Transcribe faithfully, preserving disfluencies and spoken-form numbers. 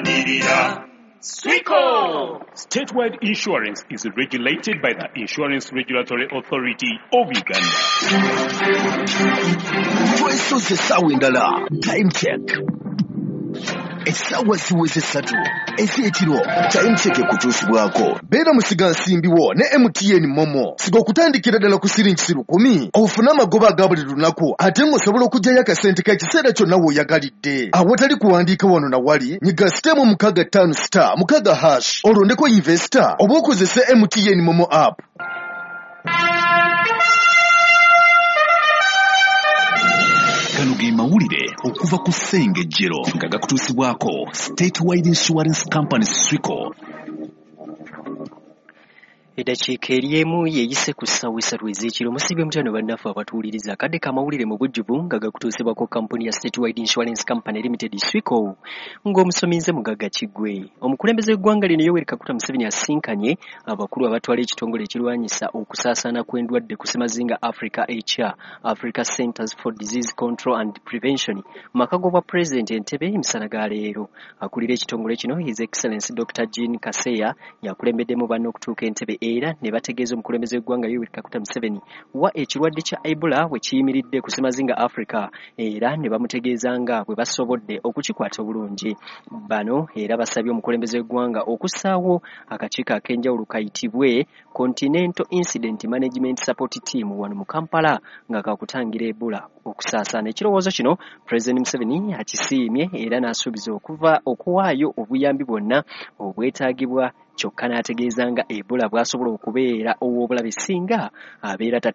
Tulwanirira Swico! Statewide Insurance is regulated by the Insurance Regulatory Authority of Uganda. Twesoze essaawa endala. Time check, essaawa ziweze ssatu ez'ekiro. Time check ekutuusibwako beera musigansimbi wo ne M T N MoMo. Siga okutandikira ddala ku siringisi lukumi ofune amagoba aga buli lunaku, ate ng'osobola okuggyayo akasente k'ekiseera kyonna w'oyagalidde awatali kuwandiika wano na wali. Nyiga star emu mukaaga ttaano star mukaaga hash, olondeko invest oba okozese M T N MoMo app. Gano ge mawulire okuva ku Ssengejjero nga gakutuusibwako Statewide Insurance Company, Swico. Eddakiika eri emu yeeyise ku ssaawa essatu ez'ekiro. Musiibye mutano bannaffe abatuwuliriza. Akadde k'amawulire mu bujjuvu nga gakutuusibwako kampuni ya Statewide Insurance Company Limited, Swico, ng'omusomi nze Mugagga Kiggwe. Omukulembeze w'eggwanga lino Yoweri Kaguta Museveni asinkanye abakulu abatwala ekitongole ekirwanyisa okusaasaana kw'endwadde ku ssemazinga Africa ekya Africa Centers for Disease Control and Prevention mu maka g'obwa pulezidenti Entebbe emisana ga leero. Akulira ekitongole kino, His Excellence Doctor Jean Kaseya, yakulembeddemu banne okutuuka Entebbe era ne bategeeza omukulembeze w'eggwanga Yoweri Kaguta Museveni wa ekirwadde kya Ebola bwe kiyimiridde ku ssemazinga Africa, era ne bamutegeeza nga bwe basobodde okukikwata obulungi. Bano era basabye omukulembeze w'eggwanga okussaawo akakiiko ak'enjawulo kayitibwe Continental Incident Management Support Team wano mu Kampala nga kakutangira Ebola okusaasaana. Ekirowoozo kino Pulezidenti Museveni akisiimye era n'asuubiza okuva okuwaayo obuyambi bwonna obwetaagibwa, kyokka n'ategeeza nga Ebola bw'asobola okubeera ow'obulabe singa abeera.